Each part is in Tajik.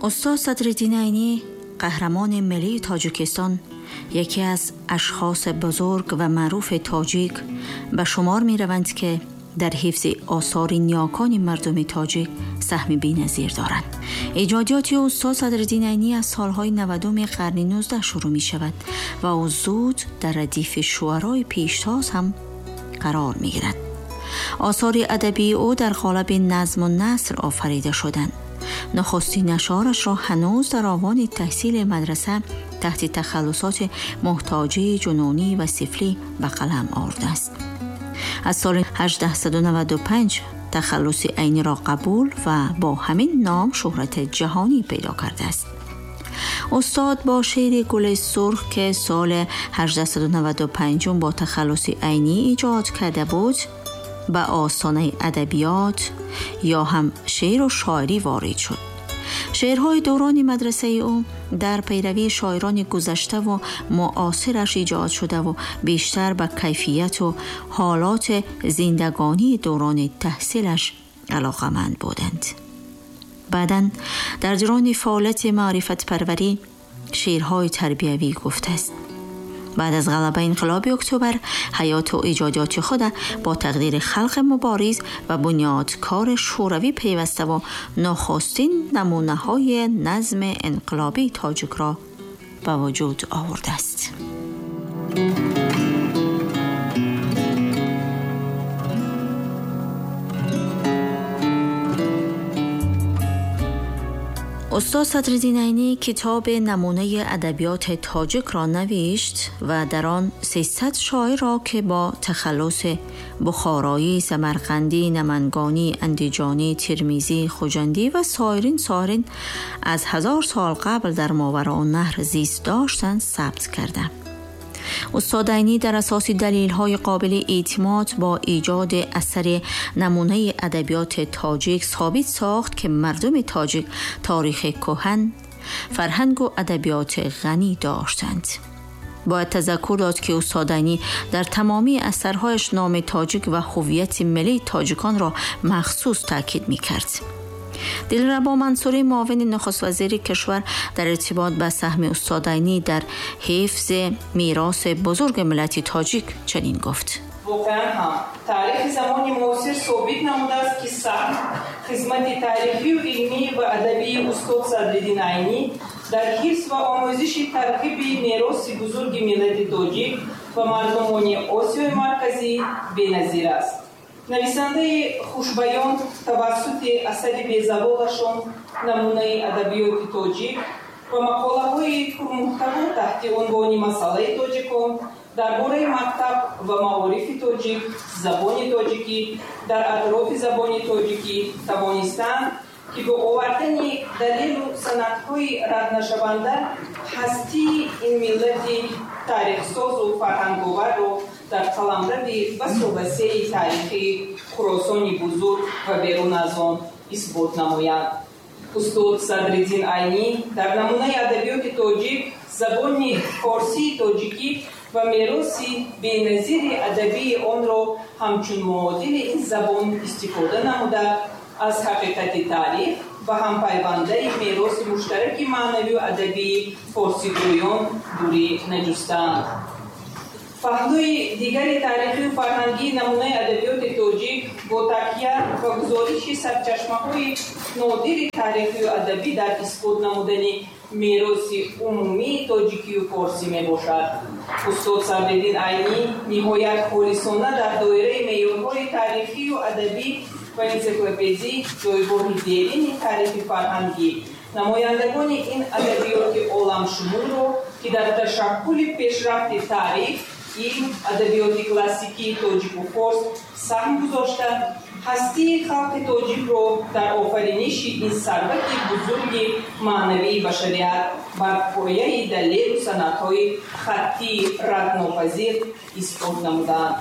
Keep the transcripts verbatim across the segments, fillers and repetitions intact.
Устод Садриддин Айнӣ, қаҳрамони миллии Тоҷикистон, яке аз ашхоси бузург ва маъруфи тоҷик ба шумор мераванд, ки дар ҳифзи осори ниёкони мардуми тоҷик саҳми беназир доранд. Эҷодиёти устод Садриддин Айнӣ аз солҳои навадуми қарни нуздаҳ шурӯъ мешавад ва ӯ зуд дар радифи шуарои пештоз ҳам қарор мегирад. Осори адабии ӯ дар қолаби назму наср офарида шуданд. Нахустин ашъорашро ҳанӯз дар овони таҳсили мадраса таҳти тахаллусоти муҳтоҷӣ, ҷунунӣ ва сифлӣ ба қалам овардааст. Аз соли ҳаждаҳсаду наваду панҷ тахаллуси Айниро қабул ва бо ҳамин ном шӯҳрати ҷаҳонӣ пайдо кардааст. Устод бо шеъри Гули сурх, ки соли ҳаждаҳсаду наваду панҷум бо тахаллуси Айнӣ эҷод карда буд, ба остонаи адабиёт ё ҳам шеъру шоирӣ ворид шуд. Шеърҳои даврони мадрасаи ӯ дар пайравии шоирони гузаштаву муосираш эҷод шудаву бештар ба кайфияту ҳолоти зиндагонии даврони таҳсилаш алоқаманд буданд. баъдан дар дурани фаъолияти маърифатпарварӣ шеърҳои тарбиявӣ гуфтааст. баъд аз ғалабаи инқилоби октябр ҳаёту эҷодиёти худ бо тақдири халқи мубориз ва бунёдкори шӯравӣ пайваставу нахустин намунаҳои назми инқилобии тоҷикро ба вуҷуд овардааст. Устод Садриддин Айнӣ китоби намунаи адабиёти тоҷикро навишт ва дар он сесад шоирро, ки бо тахаллуси бухороӣ, самарқандӣ, намангонӣ, андиҷонӣ, термизӣ, хуҷандӣ ва соирин соирин аз ҳазор сол қабл дар Мовароуннаҳр зист доштанд, сабт карда. Устод Айнӣ дар асоси далелҳои қобили эътимод бо эҷоди асари намунаи адабиёти тоҷик собит сохт, ки мардуми тоҷик таърихи кӯҳан, фарҳангу адабиёти ғанӣ доштанд. Бояд тазаккур дод, ки устод Айнӣ дар тамомии асарҳояш номи тоҷик ва ҳувияти миллии тоҷиконро махсус таъкид мекард. Дилрабо Мансурӣ, муовини нахуствазири кишвар, дар иртибот ба саҳми устод Айнӣ дар ҳифзи мероси бузурги миллати тоҷик чунин гуфт: воқеан ҳам таърихи замони муосир собит намудааст, ки саҳм хизмати таърихию илмӣ ва адабии устод Садриддин Айнӣ дар ҳифз ва омӯзиши тарғиби мероси бузурги миллати тоҷик ва мардумони Осиёи Марказӣ беназир аст. Нависандаи хушбаён тавассути асари безаволашон намунаи адабиёти тоҷик ва мақолаҳои пурмуҳтаво таҳти унвони масъалаи тоҷикон дар бораи мактаб ва маорифи тоҷик, забони тоҷикӣ, дар атрофи забони тоҷикӣ тавонистанд, ки бо овардани далелу санадҳои раднашаванда ҳастии ин миллати таърихсозу фарҳанговарро дар қаламрави басу васеи таърихии Хуросони бузург ва берун аз он исбот намоянд. Устод Садриддин Айнӣ дар намунаи адабиёти тоҷик, забони форсии тоҷикӣ ва мероси беназири адабии онро ҳамчун муодили ин забон истифода намуда, аз ҳақиқати таърих ва ҳампайвандаи мероси муштараки маънавию адабии форсигӯён дурӣ наҷустанд. Паҳлӯи дигари таърихию фарҳангии намунаи адабиёти тоҷик бо такя ва гузориши сарчашмаҳои нодири таърихию адабӣ дар исбот намудани мероси умумии тоҷикию форсӣ мебошад. Устод Садриддин Айнӣ ниҳоят холисона дар доираи меъёрҳои таърихию адабӣ ва энсиклопедӣ ҷойгоҳи дерини таърихи фарҳангӣ намояндагони ин адабиёти оламшумулро, ки дар ташаккули пешрафти таърих, илм, адабиёти классикии тоҷику форс саҳм гузошта, ҳастии халқи тоҷикро дар офариниши ин сарвати бузурги маънавии башарият бар пояи далелу санадҳои хаттии раднопазир исбот намудаанд.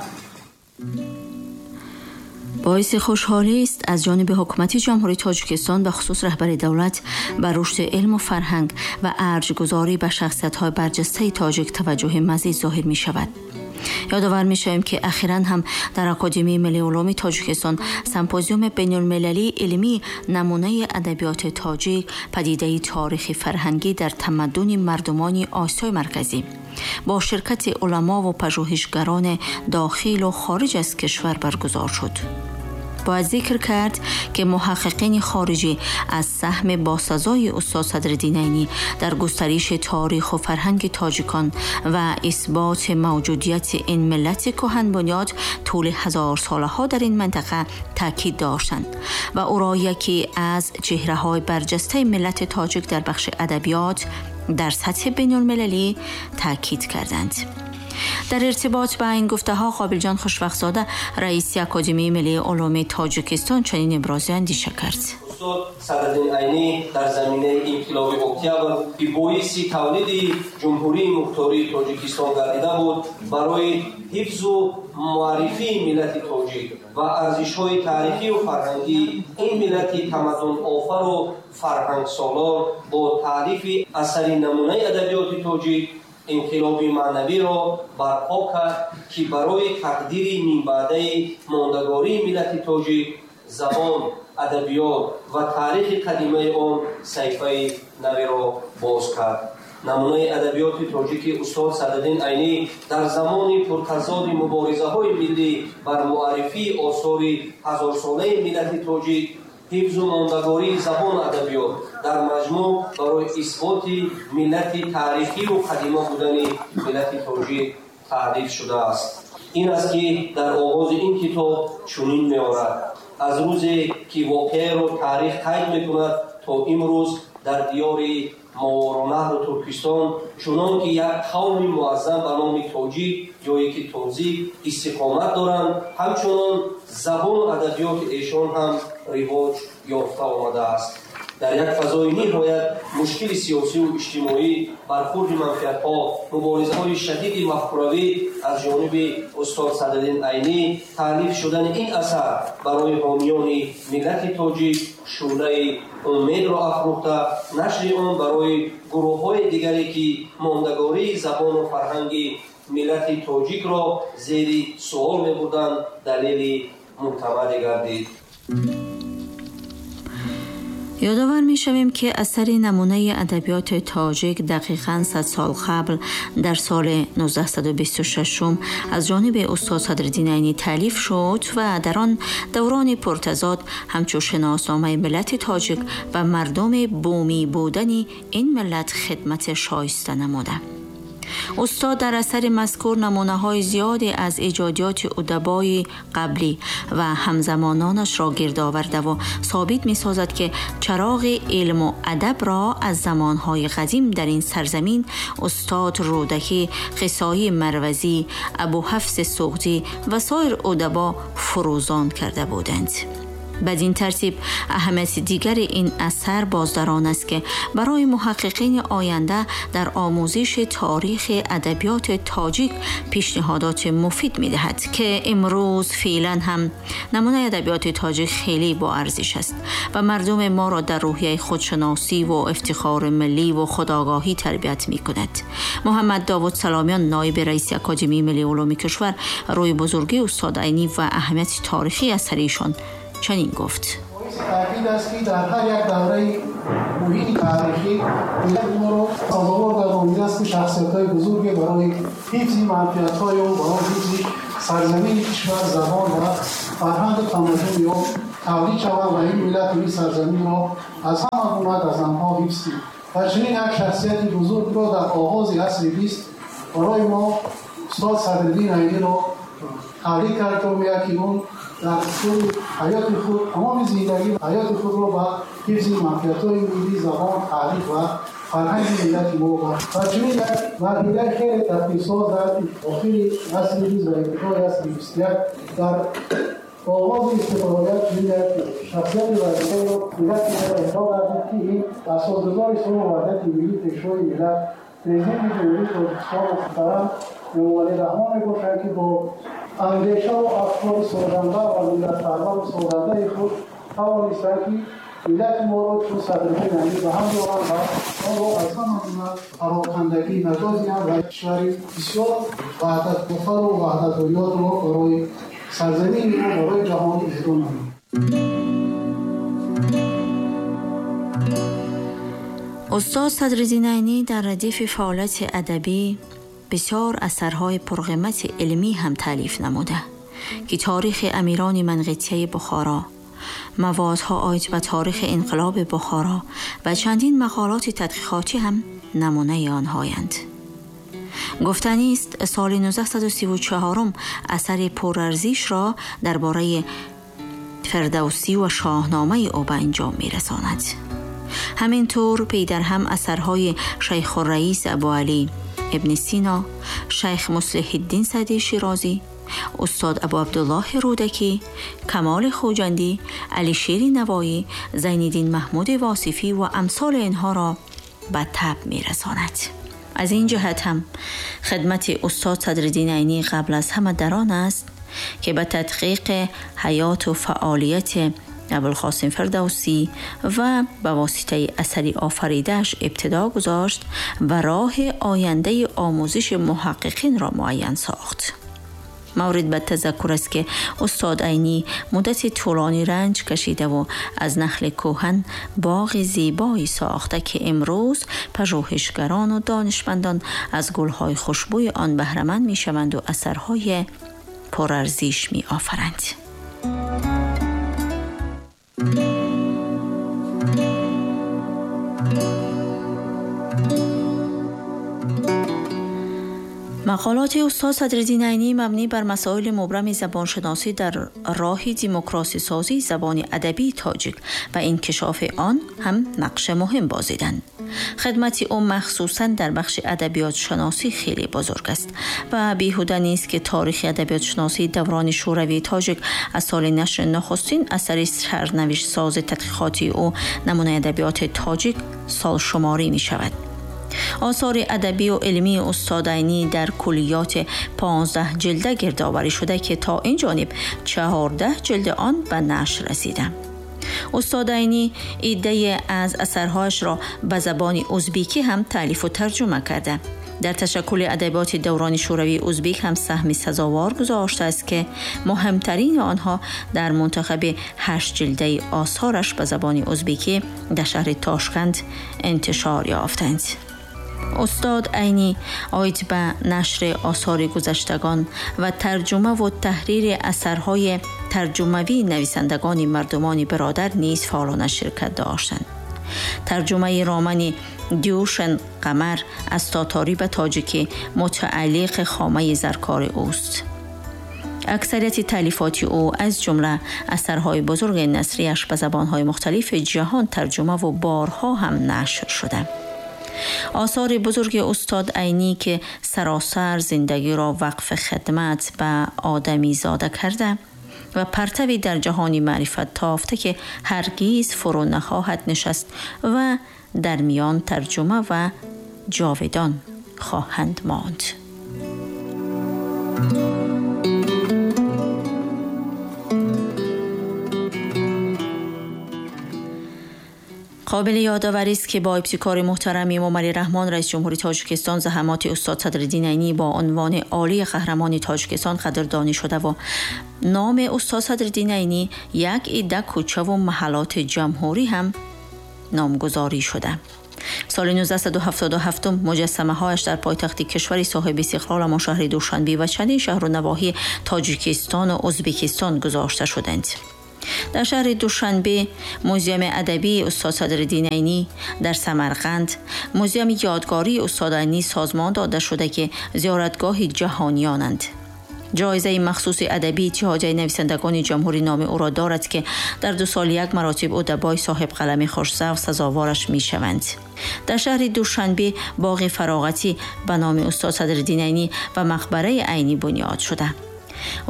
Боиси хушҳолӣ аст, аз ҷониби ҳукумати Ҷумҳурии Тоҷикистон ба хусус раҳбари давлат ба рушди илму фарҳанг ва арҷгузорӣ ба шахсиятҳои барҷастаи тоҷик таваҷҷӯҳи мазид зоҳир мешавад. Ёдовар мешавем, ки ахиран ҳам дар Академияи миллии улуми Тоҷикистон симпозиуми байналмилалии илмӣ намунаи адабиёти тоҷик, падидаи таърихи фарҳангӣ дар тамаддуни мардумони Осиёи Марказӣ бо ширкати уламо ва пажӯҳишгарони дохил ва хориҷ аз кишвар баргузор шуд. Бояд зикр кард, ки муҳаққиқини хориҷӣ аз саҳми босазои устод Садриддин Айнӣ дар густариши таърих ва фарҳанги тоҷикон ва исботи мавҷудияти ин миллати кӯҳанбунёд тӯли ҳазорсолаҳо дар ин минтақа таъкид доштанд ва ӯро яке аз чеҳраҳои барҷастаи миллати тоҷик дар бахши адабиёт дар сатҳи байналмилалӣ таъкид карданд. Дар иртибот ба ин гуфтаҳо Қобилҷон Хушвақтзода, раиси Академияи миллии улуми Тоҷикистон, чунин ибрози андеша кард. Устод Садриддин Айнӣ дар заминаи инқилоби октябр, ки боиси тавлиди Ҷумҳурии Мухтории Тоҷикистон гардида буд, барои ҳифзу муаррифии миллати тоҷик ва арзишҳои таърихию фарҳангии ин миллати тамаддунофару фарҳангсолор бо таърифи асари намунаи адабиёти тоҷик инқилоби маънавиро барпо кард, ки барои тақдири минбаъдаи мондагории миллати тоҷик, забон, адабиёт ва таърихи қадимаи он саҳифаи навиро боз кард. Намунаи адабиёти тоҷики устод Садриддин Айнӣ дар замони пуртазоди муборизаҳои миллӣ бар муаррифии осори ҳазорсолаи миллати тоҷик, ҳифзу мондагории забону адабиёт, дар маҷмӯъ барои исботи миллати таърихиву қадима будани миллати тоҷик таълиф шудааст. Ин аст, ки дар оғози ин китоб чунин меорад: аз рӯзе ки воқеаро таърих қайд мекунад то имрӯз дар диёри Моваронаҳру Туркистон, чунон ки як қавми муаззам ба номи тоҷик ё ки тозик истиқомат доранд, ҳамчунон забону адабиёти эшон ҳам ривоҷ ёфта омадааст. Дар як фазои ниҳоят мушкили сиёсиву иҷтимоӣ, бархурди манфиатҳо, муборизаҳои шадиди мафкуравӣ аз ҷониби устод Садриддин Айнӣ таълиф шудани ин асар барои ҳомиёни миллати тоҷик шӯълаи умедро афрӯхта, нашри он барои гурӯҳҳои дигаре, ки мондагории забону фарҳанги миллати тоҷикро зери суол мебурданд, далели мӯътамаде гардид. Ёдовар мешавем, ки асари намунаи адабиёти тоҷик дақиқан сад сол қабл дар соли нуздаҳсаду бисту шашум аз ҷониби устод Садриддин Айнӣ таълиф шуд ва дар он даврони пуртазод ҳамчун шиносномаи миллати тоҷик ва мардуми бумӣ будани ин миллат хидмати шоиста намуда. Устод дар асари мазкур намунаҳои зиёде аз эҷодиёти удабои қаблӣ ва ҳамзамононашро гирд овардаву собит месозад, ки чароғи илму адабро аз замонҳои қадим дар ин сарзамин устод Рӯдакӣ, Қисои Марвазӣ, Абуҳафси Суғдӣ ва соир удабо фурӯзон карда буданд. Бадин тартиб аҳамияти дигари ин асар боз дар он аст, ки барои муҳаққиқини оянда дар омӯзиши таърихи адабиёти тоҷик пешниҳодоти муфид медиҳад, ки имрӯз феълан ҳам намунаи адабиёти тоҷик хеле боарзиш аст ва мардуми моро дар рӯҳияи худшиносӣ ва ифтихори миллӣ ва худогоҳӣ тарбият мекунад. Муҳаммад Довуд Саломиён, ноиби раиси Академияи миллии улуми кишвар, рӯи бузургии устод Айнӣ ва аҳамияти таърихии асари эшон чунин гуфт: таъкид аст, ки дар ҳар як давраи муҳими таърихӣ миллати моро сазовор гардонидааст, ки шахсиятҳои бузурге барои ҳифзи манфиатҳои он, барои ҳифзи сарзамини кишвар, забон ва фарҳангу тамаддуни он тавлид шаванд ва ин миллату ин сарзаминро аз ҳама гуна газандҳо ҳифз кунанд. Ва чунин як шахсияти бузургро дар оғози асри бист барои мо устод Садриддин Айниро тавлид кард, ки он дар тӯли ҳаёти худ, тамоми зиндагӣ ҳаёти худро ба ҳифзи манфиатҳои миллӣ, забон, таърих ва фарҳанги миллати мо бахшид. Ва чунин як марҳилаи хеле тадбирсоз дар охири асри бист ва ибтидои асри бисту як дар оғози истиқлолият чунин як шахсияти варзидаро миллати мо эҳдо гардид, ки ин асосгузори сулҳу ваҳдати миллӣ, пешвои миллат, президенти Ҷумҳурии Тоҷикистон муҳтарам Эмомалӣ Раҳмон мебошанд, ки бо андешаву афкори созанда ва миллатпарвару созандаи худ тавонистанд, ки Миллати моро чун Садриддин Айнӣ ба ҳам доранд ва онро аз ҳама гуна парокандагӣ наҷот диҳанд ва кишвари бисёр ваҳдатгофару ваҳдатбунёдро барои сарзамини мо, барои ҷаҳон иҳдо намоянд. Устод Садриддин Айнӣ дар радифи фаъолияти адабӣ бисёр асарҳои пурқимати илмӣ ҳам таълиф намуда ки таърихи амирони манғитияи Бухоро, маводҳо оид ба таърихи инқилоби Бухоро ва чандин мақолоти тадқиқотӣ ҳам намунаи онҳоянд. Гуфтанист, соли нуздаҳсаду сиву чаҳорум асари пурарзишро дар бораи Фирдавсӣ ва Шоҳномаи ӯ ба анҷом мерасонад. Ҳаминтур пей дар ҳам асарҳои Шайхурраис Абуалӣ ибни Сино, Шайх Муслиҳиддин Саъдӣ Широзӣ, устод Абу Абдуллоҳи Рӯдакӣ, Камоли Хуҷандӣ, Алишери Навоӣ, Зайниддин Маҳмуди Восифӣ ва амсоли инҳоро ба таб мерасонад. Аз ин ҷиҳат ҳам хидмати устод Садриддин Айнӣ қабл аз ҳама дар он аст ки ба тадқиқи ҳаёту фаъолияти Абулқосим Фирдавсӣ ва ба воситаи асари офаридааш ибтидо гузошт ва роҳи ояндаи омӯзиши муҳаққиқинро муайян сохт. Маврид ба тазаккур аст ки устод Айнӣ муддати тӯлонӣ ранҷ кашидаву аз нахли кӯҳан боғи зебое сохта ки имрӯз пажӯҳишгарону донишмандон аз гулҳои хушбӯи он баҳраманд мешаванду асарҳои пурарзиш меофаранд. Мақолоти устод Садриддин Айнӣ мабнӣ бар масоили мубрами забоншиносӣ дар роҳи демократсисозии забони адабии тоҷик ва инкишофи он ҳам нақши муҳим бозиданд. Хидмати ӯ махсусан дар бахши адабиётшиносӣ хеле бузург аст ва беҳуда нест ки таърихи адабиётшиносии даврони шӯравии тоҷик аз соли нашри нахустин асари сарнавиштсози тадқиқотии ӯ намунаи адабиёти тоҷик солшуморӣ мешавад. Осори адабию илмии устод Айнӣ дар куллиёти понздаҳ ҷилда гирдоварӣ шуда ки то ин ҷониб чаҳордаҳ ҷилди он ба нашр расида. Устод Айнӣ иддае аз асарҳояшро ба забони узбекӣ ҳам таълифу тарҷума карда. Дар ташаккули адабиёти даврони шӯравии узбек ҳам саҳми сазовор гузоштааст ки муҳимтарини онҳо дар мунтахаби ҳашт ҷилдаи осораш ба забони узбекӣ дар шаҳри Тошканд интишор ёфтанд. Устод Айнӣ оид ба нашри осори гузаштагон ва тарҷумаву таҳрири асарҳои тарҷумавии нависандагони мардумони бародар низ фаъолона ширкат доштанд. Тарҷумаи романи Дюшен Қамар аз тоторӣ ба тоҷикӣ мутааллиқи хомаи заркори ӯст. Аксарияти таълифоти ӯ аз ҷумла асарҳои бузурги насрияш ба забонҳои мухталифи ҷаҳон тарҷумаву борҳо ҳам нашр шуда. Осори бузурги устод Айнӣ ки саросар зиндагиро вақфи хидмат ба одамизода карда ва партави дар ҷаҳони маърифат тофта ки ҳаргиз фурӯ нахоҳад нишаст ва дар миён тарҷума ва ҷовидон хоҳанд монд. Қобили ёдоварӣ аст ки бо ибтикори муҳтарами Эмомалӣ Раҳмон, раиси ҷумҳури Тоҷикистон, заҳматоти устод Садриддин Айнӣ бо унвони олии қаҳрамони Тоҷикистон қадрдонӣ шуда ва номи устод Садриддин Айнӣ як идда кӯчаву маҳаллоти ҷумҳурӣ ҳам номгузорӣ шуда. Соли нуздаҳсаду ҳафтоду ҳафтум муҷассамаҳояш дар пойтахти кишвари соҳиби истиқлоламон шаҳри Душанбе ва чандин шаҳру навоҳии Тоҷикистону Ӯзбекистон гузошта шуданд. Дар шаҳри Душанбе музеями адабии устод Садриддин Айнӣ, дар Самарқанд музеями ёдгории устод Айнӣ созмон дода шуда ки зиёратгоҳи ҷаҳониёнанд. Ҷоизаи махсуси адабии Иттиҳодияи нависандагони ҷумҳурӣ номи ӯро дорад ки дар ду сол як маротиб удабои соҳибқалами хушзавқ сазовораш мешаванд. Дар шаҳри Душанбе боғи фароғатӣ ба номи устод Садриддин Айнӣ ва мақбараи Айнӣ бунёд шуда.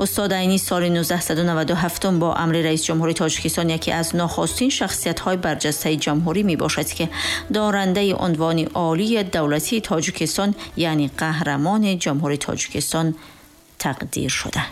Устод Айнӣ соли нуздаҳсаду наваду ҳафтум бо амри раиси ҷумҳури Тоҷикистон яке аз нохустин шахсиятҳои барҷастаи ҷумҳурӣ мебошад ки дорандаи унвони олии давлатии Тоҷикистон, яъне қаҳрамони ҷумҳури Тоҷикистон тақдир шуда.